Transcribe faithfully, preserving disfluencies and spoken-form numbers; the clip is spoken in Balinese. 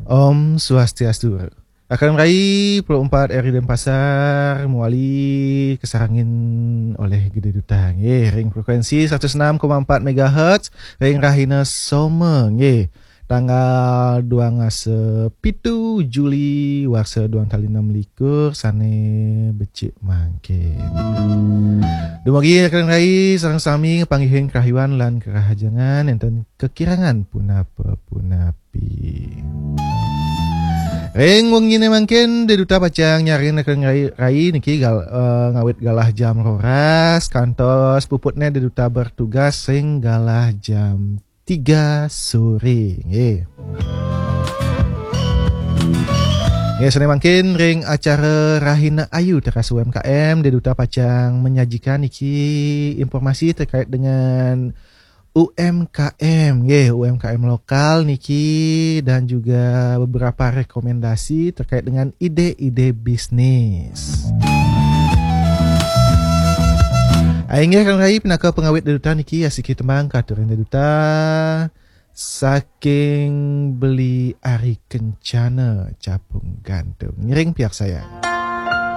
Om Swastiastu. Rakan rai, puluh empat R I Denpasar mawali kasarengin olih Gede Duta nggih ring frekuensi seratus enam koma empat megahertz ring rahina Soma nggih, tanggal dua ngasa pitu Juli warsa dua tali enam likur sane becik mangkin. Dumugi rakan rai sareng sami ngapanggihin kerahiwan lan kerahajengan, enten kekirangan punapa-punapi. Ring wengine mangkin Gede Duta pacang nyarengin rai, rai niki gal, eh, ngawit galah jam roras kantos puputne Gede Duta bertugas ring galah jam tiga sore nggih. Nggih, sane mangkin ring acara Rahina Ayu teras U M K M, Gede Duta pacang menyajikan niki informasi terkait dengan U M K M nggih, U M K M lokal niki dan juga beberapa rekomendasi terkait dengan ide-ide bisnis. Inggih rakan rai, pinaka pangawit Gede Duta niki asiki tembang katurin Gede Duta saking Beli Ari Kencana Capung Gantung. Ngiring piarsayang.